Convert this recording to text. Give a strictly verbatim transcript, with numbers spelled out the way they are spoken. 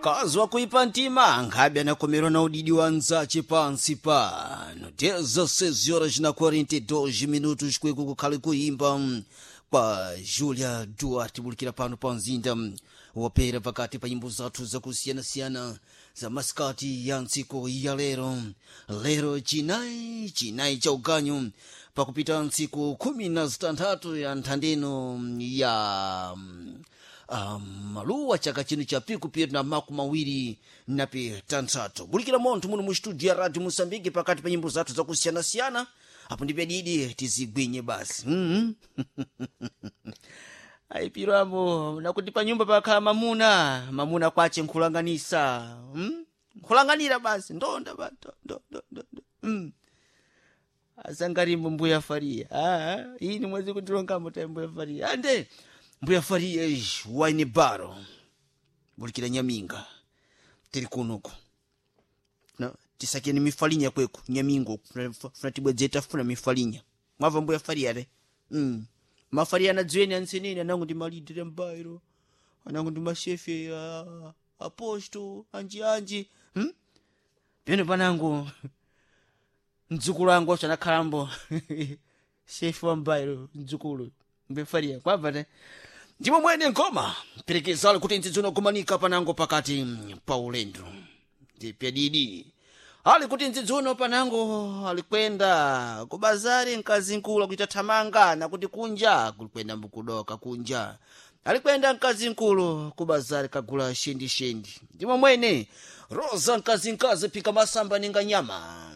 Mkazi wa kuipa ntima nkhabe anakomerwa na udidi wa nzache pansi pano. dezesseis horas na quarenta e dois minutos, kweku kukhale kuimba kwa Julia Duarte, bulikira pano pa mzinda wapera pakati pa nyimbo zathu zakusiyanasiyana za masikati ya ntsiku ya lero, lero chinayi, chinayi cha uganyu, pakupita ntsiku khumi na zitanthatu ya nthandeno ya um, maluwa chaka chino cha pikupiri na makumi mawiri na pitanthatu. Bulikira monthu muno mu studio ya Radio Mosambike pakati pa nyimbo zathu zakusiyanasiyana. Apo ndipe didi tizigwinye basi mm -hmm. Ayipiramo nakuti pa nyumba pakhala mamuna, mamuna kwache nkhulanganisa, hmm? Nkhulanganira basi ndonda ba ndo, ndo, ndo, ndo. Mm. Asangarimbo mbuya Faria, ah, ini mwezi kutilongamo ta mbuya Faria ande mbuya Faria ish, waine baro bulikira nyaminga tiri kunuku na tisakeni mifalinya kweku nyamingo funa tibwedzeta funa mifalinya mwava mbuya Faria re mm. Mafaria anadziweni anseneni anangu ndi malidre mbairo, anangu ndi mashefe uh, aposto anji anji hmm? Peno panangu mdzukulu wangu acho anakhalambo shefe wa mbairo, mdzukulu mbuya Faria kwabva te ndimo mwene ngoma perekezalo kuti ndzidzono kumanika panango pakati pa ulendo ndipyadidi ali kuti ndzidzono panango alikwenda kubazari mkazi nkulu akuita thamanga nakuti kunja kulikwenda mbukudoka kunja alikwenda mkazi nkulu kubazari kagula shendishendi. Ndimo mwene Rosa mkazi nkazi phika masamba ninga nyama.